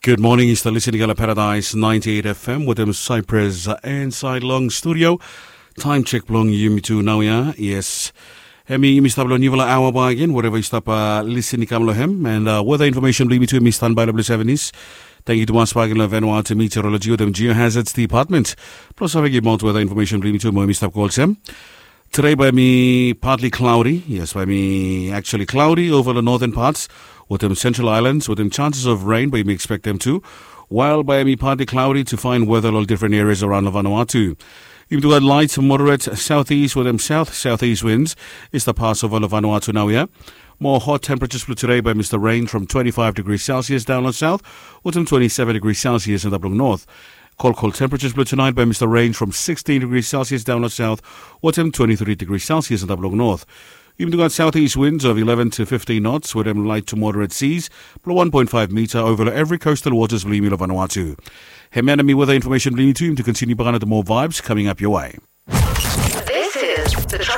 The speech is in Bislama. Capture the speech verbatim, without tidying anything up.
Good morning, yu stap listening long Paradise ninety-eight F M wetem Cyprus inside long studio. Time check blong yumi tu nau ya. Yes. Hemi yumi stap long niufala aoa bak agen, whatever yu stap listening kam long hem. And uh, weather information blong yumi tu, mi standby long blong seven is. Thank you to Mas Parkin long Vanuatu Meteorology wetem Geohazards Department. Plus, I give out weather information blong yumi tu, mo yumi stap call sem. Today by me partly cloudy. Yes, by me actually cloudy over the northern parts. Wetem Central Islands, wetem chances of rain, but yumi expect them to. While by me partly cloudy to find weather long different areas around Vanuatu. Yumi tu gat light to moderate southeast wetem south southeast winds. Is the pass over Vanuatu now here. More hot temperatures blong today by Mister Rain from twenty-five degrees Celsius down on south, wetem twenty-seven degrees Celsius in the blong north. Cold, cold temperatures blong tonight by Mister Rain from sixteen degrees Celsius down on south, wetem twenty-three degrees Celsius in the blong north. Yumi tu gat southeast winds of eleven to fifteen knots wetem light to moderate seas blong one point five meter over every coastal waters blong yumi long Vanuatu. Hemia nao mi weather information blong yumi tu, yumi tu continue bak long more vibes coming up your way. This is the